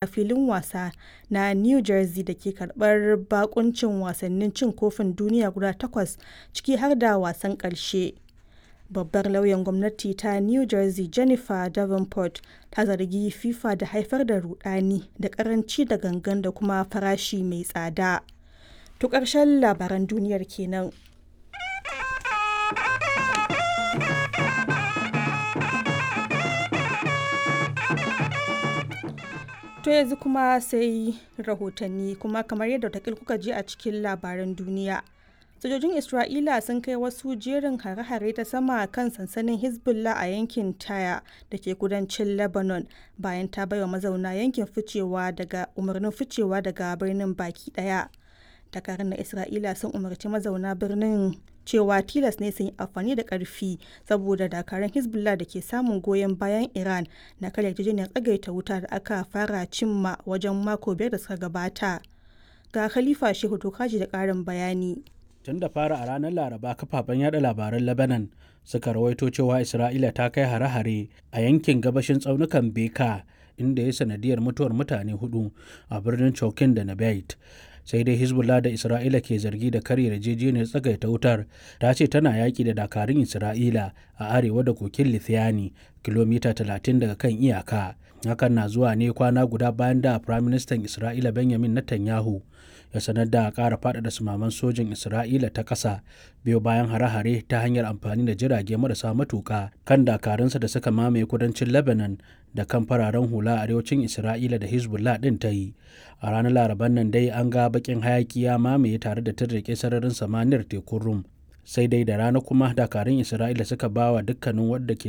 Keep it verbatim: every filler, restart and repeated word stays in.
A filin wasa na New Jersey da ke karɓar baƙuncin wasannin Cin Kofin Duniya guda takwas, ciki har da wasan ƙarshe, Babbar Lauyan Gwamnati ta New Jersey Jennifer Davenport ta zargi FIFA da haifar da “ruɗani da ƙaranci da gangan da kuma farashi mai tsada.” To ƙarshen labaran duniyar ke nan. To yanzu kuma sai rahotanni kuma kamar yadda watakil kuka ji a cikin labaran duniya. Sojojin Isra'ila sun kai wasu jerin hare-hare ta sama kan sansanin Hezbollah a yankin Tyre da ke kudancin Lebanon bayan ta baiwa mazauna yankin ficewa daga umarnin ficewa daga birnin baki daya. Dakarun na Isra'ila sun umarci mazauna birnin cewa tilas ne su yi amfani da ƙarfi saboda dakarun Hezbollah da ke samun goyon bayan Iran na karya yarjejeniyar tsagaita wuta da aka fara cimma wajen mako biyar da suka gabata. Ga Khalifa Shehu Dokaji da ƙarin bayani. Tun da fara a ranar Laraba kafafen yada labaran Lebanon suka rawaito cewa Isra'ila ta kai hare-hare a yankin gabashin tsaunukan Beka inda ya sanadiyar mutuwar mutane hudu a birnin Chokin da Nabayit. Sai dai Hezbollah da Isra'ila ke zargi da karya yarjejeniyar tsagaita wutar ta ce tana yaƙi da dakarun Isra'ila a arewa da kokin Lithuania kilomita talatin daga kan iyaka. Hakan na zuwa ne kwana guda bayan da Firaministan Isra'ila Benjamin Netanyahu ya sanar da ƙara faɗaɗa sumaman sojin Isra'ila ta ƙasa biyo bayan hare-hare ta hanyar amfani da jirage marasa matuƙa kan dakarunsa da suka mamaye kudancin Lebanon da kan fararen hula a arewacin Isra'ila da Hezbollah ɗin ta yi. A ranar Laraban nan dai an ga baƙin hayaki ya mamaye tare da tirrike sararin samaniyar tekun Rum. Sai dai da rana kuma dakarun Isra'ila suka ba wa dukkanin wadda ke